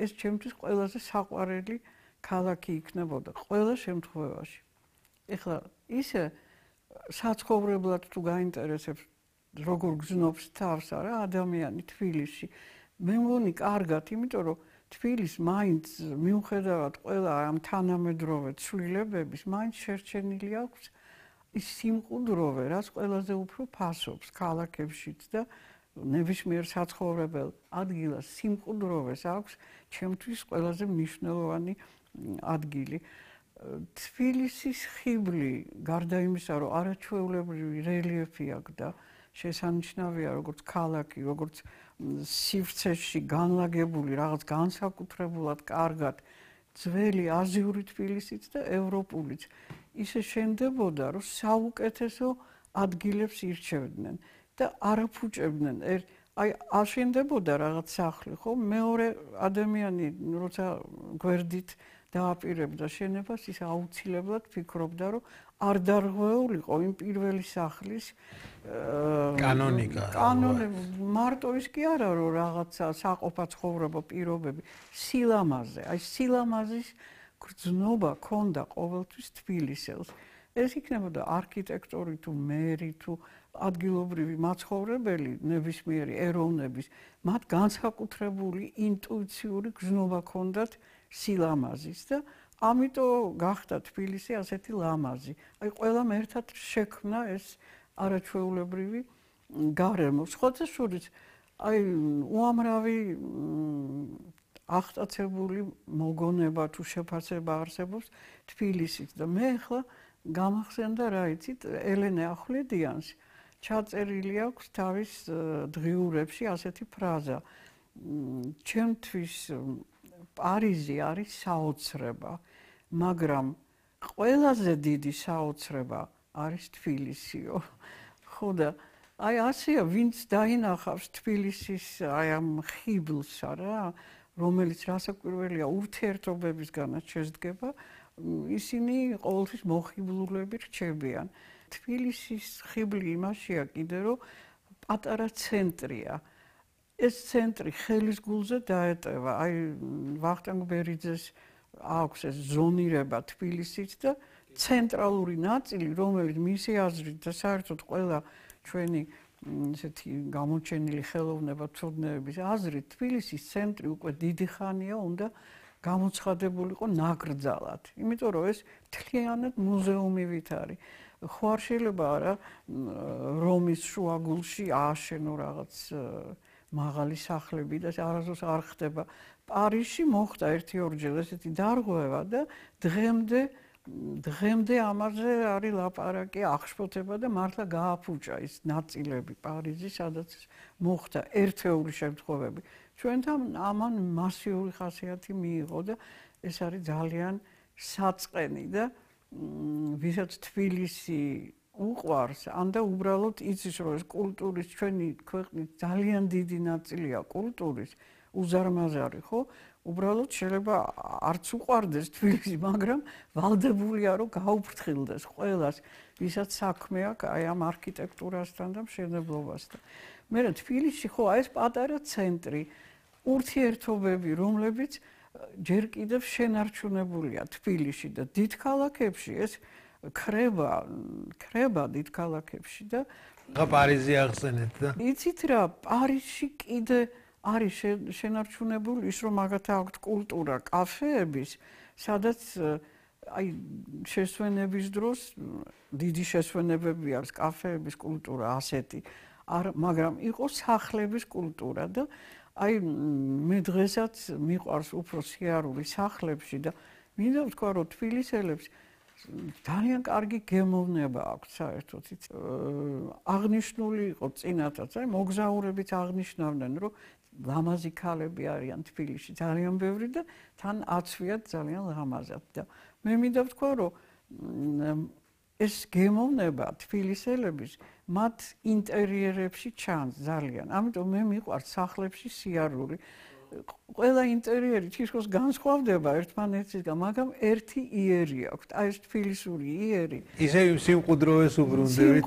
ეს ჩემთვის ყველაზე საყვარელი ქალაქი იქნებოდა ყველა შემთხვევაში. ეხლა ისე საცხოვრებლად თუ გაინტერესებს როგორ გზნობს თავს არა ადამიანი თბილისში. მე მგონი კარგად, იმიტომ რომ თბილისს მაინც მიუხედავად ყველა ამ თანამედროვე ცვლილებების, მაინც შერჩენილი აქვს ის სიმყუდროვე, რაც ყველაზე უფრო ფასობს ქალაქებშიც და ნებისმიერ საცხოვრებელ ადგილას სიმყუდროვეს აქვს ჩემთვის ყველაზე მნიშვნელოვანი ადგილი. თბილისის ხიბლი, გარდა იმისა, რომ არაჩვეულებრივი რელიეფი აქვს და შესანიშნავია როგორც ქალაქი, როგორც სივრცეში განლაგებული რაღაც განსაკუთრებულად კარგად ძველი აზიური თბილისიც და ევროპულიც. ისე შენდებოდა, რომ საუკეთესო ადგილებს ირჩევდნენ და არაფუჭებდნენ. აი აშენდებოდა რაღაც სახლი, ხო? მეორე ადამიანი როცა გვერდით დააპირებდა შენებას, ის აუცილებლად ფიქრობდა, რომ არ დარღვეულიყო იმ პირველი სახლის კანონიკა. მარტო ის კი არა, რომ რაღაცა საყოფაცხოვრებო პირობები, სილამაზე, აი სილამაზის გრძნობა ქონდა ყოველთვის თბილისელს. ეს იქნებოდა არქიტექტორი თუ მერი თუ ადგილობრივი მაცხოვრებელი ნებისმიერი ეროვნების, მათ განსაკუთრებული ინტუიციური გრძნობა ქონდათ სილამაზის და ამიტომ გახდა თბილისი ასეთი ლამაზი. აი ყველამ ერთად შექმნა ეს არაჩვეულებრივი გარემო. სხვათა შორის აი უამრავი აღტაცებული მოგონება თუ შეფასება არსებობს თბილისით და მე ახლა გამახსენდა რა იცით ელენე ახვლედიანს ჩაწერილი აქვს თავის დღიურებში ასეთი ფრაზა ჩემთვის პარიზი არის საოცრება მაგრამ ყველაზე დიდი საოცრება არის თბილისიო ხო და აი ასეა ვინც დაინახავს თბილისის აი ამ ხიბლსა რა რომელიც რასაკვირველია ურთიერთობებისგანაც შედგება ისინი ყოველთვის მოხიბლულები რჩებიან. თბილისის ხიბლი იმაშია კიდე რომ პატარა ცენტრია. ეს ცენტრი ხელის გულზე დაეტევა. აი ვახტანგ ბერიძეს აქვს ეს ზონირება თბილისით და ცენტრალური ნაწილი, რომელიც მისი აზრით და საერთოდ ყველა ჩვენი ესეთი გამოჩენილი ხელოვნებათმცოდნეების აზრით თბილისის ცენტრი უკვე დიდი ხანია უნდა გამოცხადებულიყო ნაკრძალად. იმიტომ რომ ეს მთლიანად მუზეუმივით არის. ხო არ შეიძლება არა რომის შუაგულში ააშენო რაღაც მაღალი სახლები და არასდროს არ ხდება. პარიზში მოხდა ერთი-ორჯერ ესეთი დარღვევა და დღემდე ამაზე არის ლაპარაკი, აღშფოთება და მართლა გააფუჭა ის ნაწილები პარიზის, სადაც მოხდა ერთეული შემთხვევები. ჩვენთან ამან მასიური ხასიათი მიიღო და ეს არის ძალიან საწყენი და ვისაც თბილისი უყვარს, ანდა უბრალოდ იცის, რომ ეს კულტურის ჩვენი ქვეყნის ძალიან დიდი ნაწილია კულტურის, უზარმაზარი, ხო? უბრალოდ შეიძლება არც უყვარდეს თბილისი, მაგრამ ვალდებულია, რომ გაუფრთხილდეს ყველას, ვისაც საქმე აქვს აი ამ არქიტექტურასთან და მშენებლობასთან. მე თბილისში ხო აი ეს პატარა ცენტრი, ურთიერთობები, რომლებიც ჯერ კიდევ შენარჩუნებულია თბილისში და დიდ ქალაქებში ეს ქრება დიდ ქალაქებში და პარიზი ახსენეთ და იცით რა პარიზში კიდე არის შენარჩუნებული ის რომ მაგათ აქვთ კულტურა კაფეების სადაც აი შესვენების დროს დიდი შესვენებები არის კაფეების კულტურა ასეთი მაგრამ იყო სახლების კულტურა და აი მე დღესაც მიყვარს უფრო სიარული სახლებში და მინდა ვთქვა რომ თბილისელებს ძალიან კარგი გემოვნება აქვს საერთოდ აღნიშნული იყო წინათაც აი მოგზაურებიც აღნიშნავდნენ რომ ლამაზი ქალები არიან თბილისში ძალიან ბევრი და თან აცვიათ ძალიან ლამაზად და მე მინდა ვთქვა რომ ეს გემოვნება თბილისელების მათ ინტერიერებში ჩანს ძალიან. ამიტომ მე მიყვარს სახლებში სიარული. ყველა ინტერიერი თითქოს განსხვავდება ერთმანეთისგან, მაგრამ ერთი იერი აქვს. აი ეს თბილისური იერი. ისე სიმყუდროვეს უბრუნდებით.